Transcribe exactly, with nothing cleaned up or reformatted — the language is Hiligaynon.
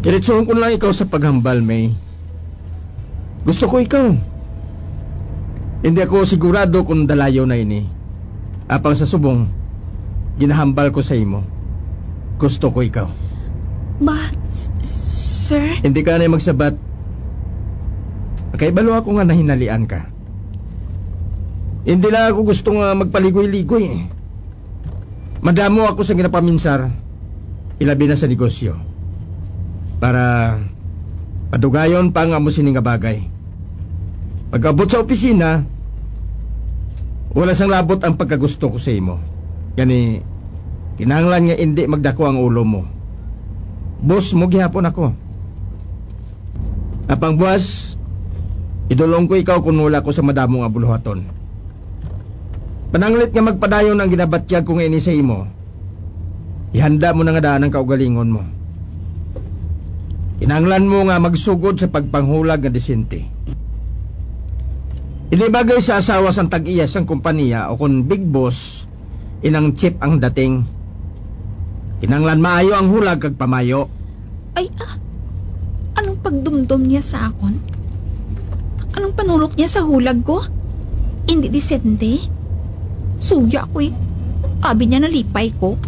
Diretsohon ko lang ikaw sa paghambal, May. Gusto ko ikaw. Hindi ako sigurado kung dalayo na ini. Apang sa subong, ginahambal ko sa imo. Gusto ko ikaw. But, sir... Hindi ka na magsabat. Nakahibalo ako nga nahinalian ka. Hindi lang ako gusto nga magpaligoy-ligoy. Madamo ako sa ginapaminsar, ilabi na sa negosyo. Para padugayon pa ang amo sini nga bagay. Pag-abot sa opisina, wala sang labot ang pagkagusto ko sa imo. Gani, kinahanglan nga indi magdako ang ulo mo. Boss mo gihapon ako. Apang buwas, idulong ko ikaw kung wala ko sa madamo nga buluhaton. Pananglit nga magpadayon ang ginabatyag ko nga ini sa imo, ihanda mo na nga daan ang kaugalingon mo. Kinahanglan mo nga magsugod sa pagpanghulag nga disente. Hindi bagay sa asawa sang tag-iya sang kompanya o kon big boss, inang chief ang dating. Kinahanglan maayo ang hulag kag pamayo. Ay, ah, anong pagdumdom niya sa akon? Anong panulok niya sa hulag ko? Hindi disente? Suya ko eh. Abi niya nalipay ko.